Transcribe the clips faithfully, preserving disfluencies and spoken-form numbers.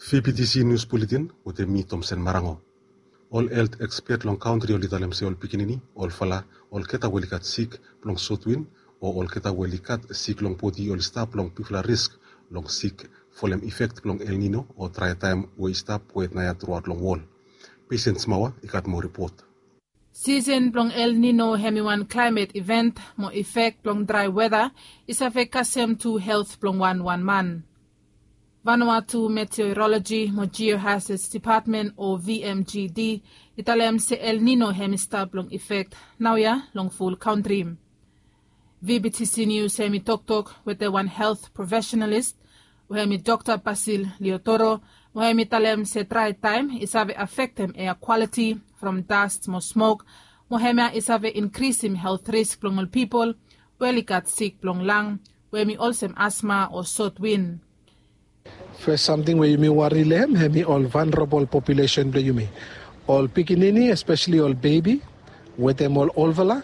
Fifty C News Bulletin wetem mi Tomsen Marango. Ol helt ekspet long kantri oli talem se ol pikinini, ol fala, olgeta we oli gat sik blong sotwin o olgeta we oli gat sik long bodi oli stap long bigfala risk long sik folem ifek blong El Nino o drae taem we i stap wet naoia truaot long wol. Pesen Smawa i gat moa ripot. Sisen blong El Nino hem i wan klaemet iven mo ifek blong drae weta i save kasem tu helt blong wanwan man. Vanuatu Meteoroloji mo Geohazards Dipatmen o V M G D i talem se El Nino hem i stap long ifek naoia long ful kantri. V B T C News hem i toktok wetem wan helt profesionalis we hem i Dokta Basil Leotoro, we hem i talem se drae taem i save afektem ea kwaliti from dast mo smok, mo hemia i save inkrisim helt risk blong ol pipol we oli gat sik blong lang, we hem i olsem asma o sotwin. Fes samting we yumi wari long hem, hem i ol vulnerable population blong yumi. Ol pikinini, especially ol bebi, wetem ol olfala,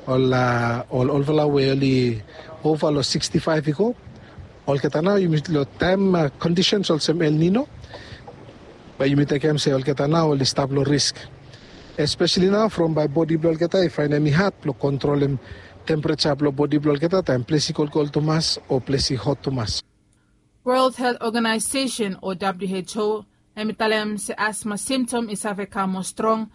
ol, a, ol olfala we oli ova long sixty-five i go. Olgeta nao yumi long taem, a, conditions olsem El Nino, bae yumi tekem se olgeta nao oli stap long risk. Especially nao from bae bodi blong olgeta i faenem i had blong kontrolem tempereja blong bodi blong olgeta taem ples i kolkol tumas o ples i hot tumas. World Health Organization o W H O hem i talem se asma simtom i save kam moa strong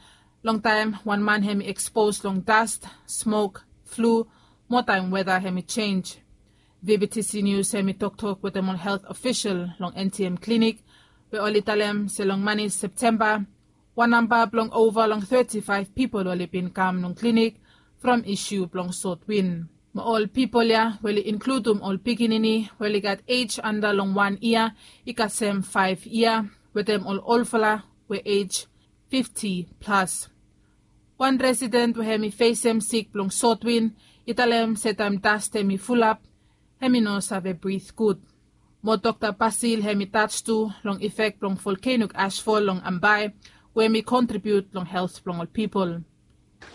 longtaem wan man hem i ekspos long dast, smok, flu, mo taem weta hem i jenj. V B T C News hem i toktok wetem ol helt ofisol long N T M klinik, we oli talem se long mane Septemba, wan namba blong ova long thirty-five pipol oli bin kam long klinik from isu blong sotwin. Mo ol pipol ya we oli inkludum ol pikinini we oli gat ej anda long wan yia i kasem faef yia, wetem ol olfala we ej fifti plas. Wan residen we hem i fesem sik blong sotwin i talem se taem dast hem i fulap, hem i no save brit gud. Mo Dokta Basil hem i tach tu long ifek blong volkenok ashfol long Ambae, we hem i kontribiut long helt blong ol pipol.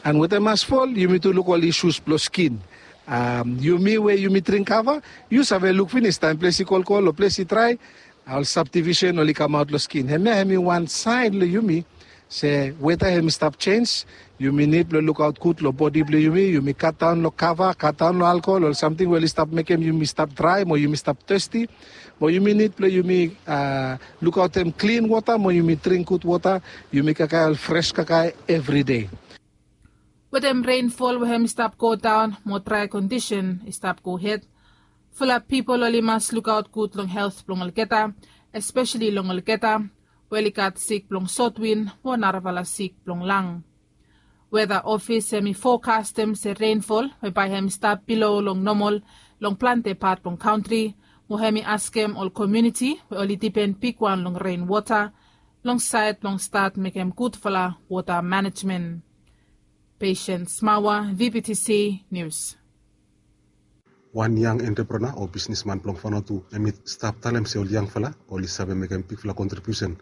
And wetem ashfol yumi tu luk ol isus blong skin. Am, yumi we yumi dring kava, yu save luk finis taem ples i kolkol o ples i drae, ol sabdivisen oli kamaot long skin. Hemia hem i wan saen long yumi se weta hem i stap jenj. Yumi nid blong lukaot gud long bodi blong yumi. Yumi katdaon long kava, katdaon long alkohol, ol samting we oli stap mekem yumi stap drae mo yumi stap testi. Mo yumi nid blong yumi, a, lukaotem klin wota mo yumi dring gud wota. Yumi kakae ol fres kakae evridei. Wetem renfol we hem i stap godaon mo drae kondisen i stap gohed, fulap pipol oli mas lukaot gud long helt blong olgeta, espeseli long olgeta we oli gat sik blong sotwin mo narafala sik blong lang. Weta ofis hem i fokastem se renfol we bae hem i stap bilo long nomol long plante pat blong kantri, mo hem i askem ol komuniti we oli dipen bigwan long renwota long saed blong stat mekem gudfala wota manejmen. Patience Mawa, V B T C News. Wan yang entrepreneur o bisnisman blong Vanuatu hem i stap talem se ol yangfala oli save mekem bigfala kontribiusen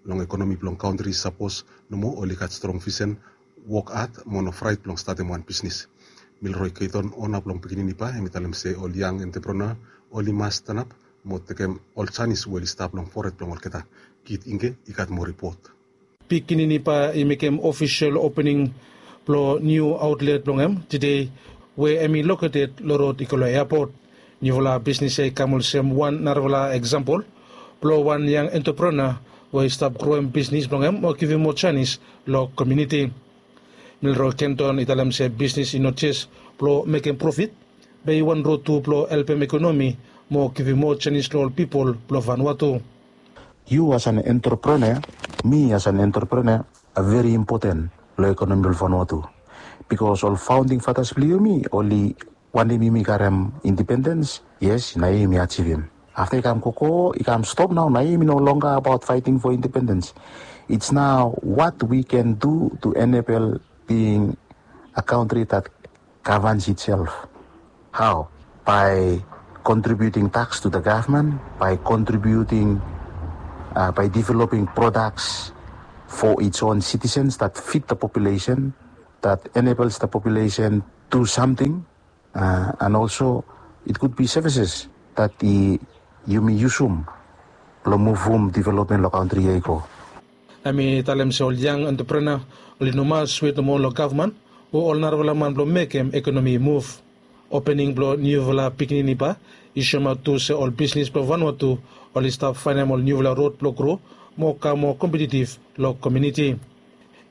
long ekonomi blong kantri sapos nomo oli gat strong visen, wok had mo no fraet blong statem wan bisnis. Milroy Keiton, ona blong Pikinini Ba, hem i talem se ol yang entrepreneur oli mas stanap mo tekem ol janis we oli stap long fored blong olgeta. Kit Ingge i gat moa ripot. Pikinini Ba i mekem ofisol opening blong niu aotlet blong hem tede, we hem i loketed long rod i go long eapot. Niufala bisnis ya i kam olsem wan narafala eksampol blong wan yang entrepreneur we i stap groem bisnis blong hem o givim moa janis long komuniti. Milroy Keiton i talem se bisnis i no jes blong mekem profit, be i wan rod tu blong helpem ekonomi mo givim moa janis long ol pipol blong Vanuatu. Yu as an entrepreneur, mi as an entrepreneur, a veri impoten long ekonomi blong Vanuatu. Bikos ol faonding fatas blong yumi oli wantem yumi karem indipendens, yes, nao yumi ajivim. Afta i kam gogo, i kam stop nao, nao yumi no longa abaot faeting fo indipendens. It's now what we can do to enable being a country that governs itself. How? By contributing tax to the government, by contributing, uh, by developing products for its own citizens that fit the population, that enables the population do something, uh, and also it could be services that i, yumi yusum Long muvum developmen long kantri ya i go. Hem i talem se ol yang entrepreneur oli no mas wet nomo long gavman o ol narafala man blong mekem ekonomi i muv. Opening blong niufala pikinini ba i soemaot tu se ol bisnis blong Vanuatu oli stap faenem ol niufala rod blong gro mo kam moa kompetitiv long komuniti.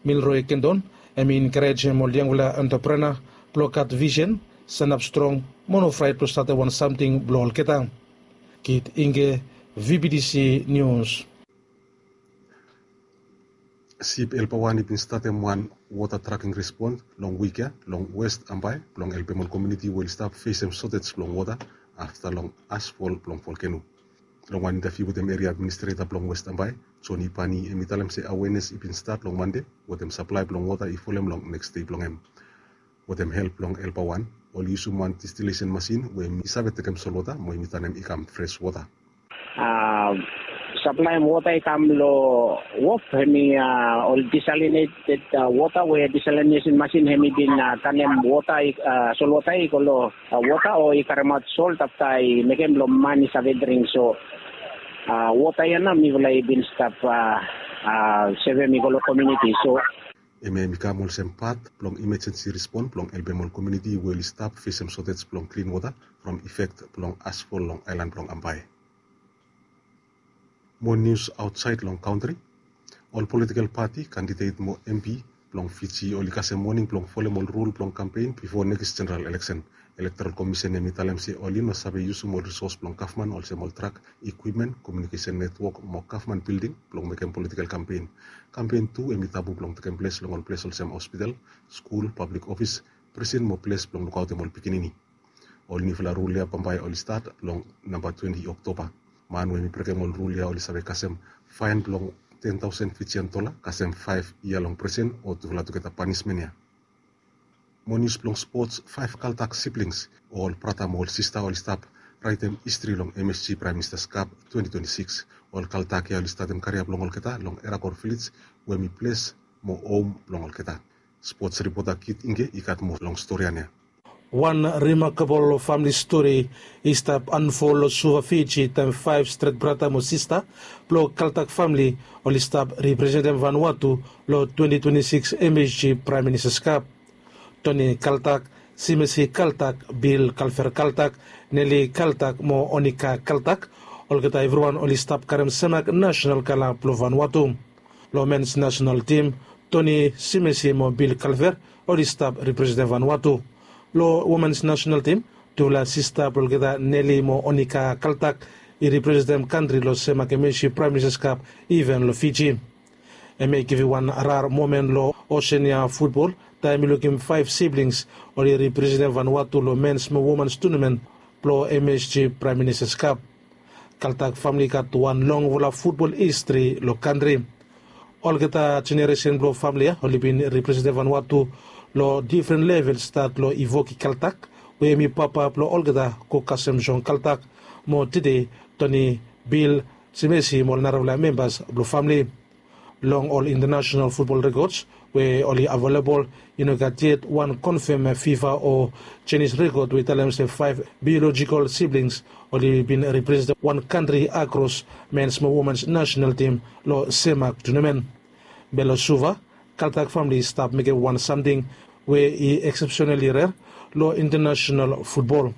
Milroy Kendon hem i enkarejem ol yangfala entrepreneur blong gat visen, sanap strong mo no fraet blong statem wan samting blong olgeta. Kit Inge, V B T C News. Sip Helper wan i bin statem wan wota traking respons long wik ya long West Ambae blong helpem ol komuniti we oli stap fesem sotej blong wota afta long asfol blong volkeno. Long wan intaviu wetem eria administreta blong West Ambae, Joni Pani hem i talem se awenes i bin stat long Mande wetem saplae blong wota i folem long neks dei blong hem. Wetem help blong Helper wan, oli yusum wan distilesen masin we hem i save tekem solwota mo hem i tanem i kam fres wota. Saplaem wota i kam long wof hem i ol disalineted wota we disalinesin masin hem i bin tanem wota, solwota i go long wota o i karemaot sol afta i mekem blong man i save dring. So wota ya nao mifala i bin stap sevem i go long komuniti. So hemia hem i kam olsem pat blong imajensi respon blong helpem ol komuniti we oli stap fesem sotej blong klin wota from ifek blong asfol long aelan blong Ambae. Mo nius aotsaed long kantri. Ol politikel pati, kandidet mo M P blong Fiji oli kasem moning blong folem ol rul blong kampen bifo nekis jeneral eleksen. Elektoral Komisen hem i talem se oli no save yusum ol risos blong gavman olsem ol trak, ikwipmen, komiunikesen netwok mo gavman bilding blong mekem politikel kampen. Kampen tu hem i tabu blong tekem ples long ol ples olsem hospital, skul, pablik ofis, prisen mo ples blong lukaotem ol pikinini. Ol niufala rul ya bambae oli stat long namba twenti Oktoba. Man we hem i brekem ol rul ya oli save kasem faen blong ten taosen Fijian dola, kasem faef yia long prisen o tufala tugeta panismen ya. Mo nius blong spots, faef Kaltak siblings o ol brata mo ol sista oli stap raetem histri long M S G Praem Ministas Kap twenti twenti sikis. Ol Kaltak ya oli statem karia blong olgeta long Erakor Vilej we hem i ples mo hom blong olgeta. Spots ripota Kit Inge i gat moa long storian ya. Wan rimakabol famili stori i stap anfol long Suva, Fiji taem faef stret brata mo sista blong Kaltak famili oli stap representem Vanuatu long twenti twenti sikis M S G Praem Ministas Kap. Toni Kaltak, Simesi Kaltak, Bil Kalver Kaltak, Neli Kaltak mo Onika Kaltak, olgeta evriwan oli stap karem semak nasenal kala blong Vanuatu. Long mens nasenal tim, Toni Simesi mo Bil Kalver oli stap representem Vanuatu. Long womens nasenal tim, tufala sista blong olgeta Neli mo Onika Kaltak i representem kantri long semak M S G Praem Ministas Kap iven long Fiji. Hemia i givim wan rar momen long Osenia futbol taem i lukim faef siblings oli representem Vanuatu long mens mo womens tunamen blong M S G Praem Ministas Kap. Kaltak famili i gat wan longfala futbol histri long kantri. Olgeta jeneresen blong famili ya oli bin representem Vanuatu long difren level, stat long Ivoki Kaltak we hem i papa blong olgeta go kasem Jon Kaltak mo tede Toni Bil Simesi mo ol narafala membas blong famili. Long ol intanasenal futbol rekods we oli avelebol, i no gat yet wan konfem fifa o jenis rekod we i talem se faef biolojikol siblings oli bin representem wan kantri akros mens mo womens nasenal tim long semak tunamen. Be long Suva, Kaltak famili i stap mekem wan samting we i eksepsenali rer long intanasenal futbol.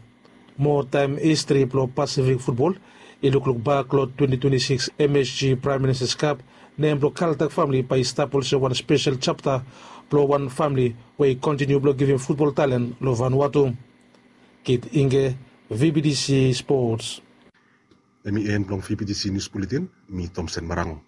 Mo taem histri blong Pasifik futbol i lukluk bak long twenti twenti sikis M S G Praem Ministas Kap, nem blong Kaltak famili bae i stap olsem wan spesel japta blong wan famili we i kontiniu blong givim futbol talen long Vanuatu. Kit Inge, V B T C Sports. Hemi en blong V B T C Nius Buletin, mi Tomsen Marango.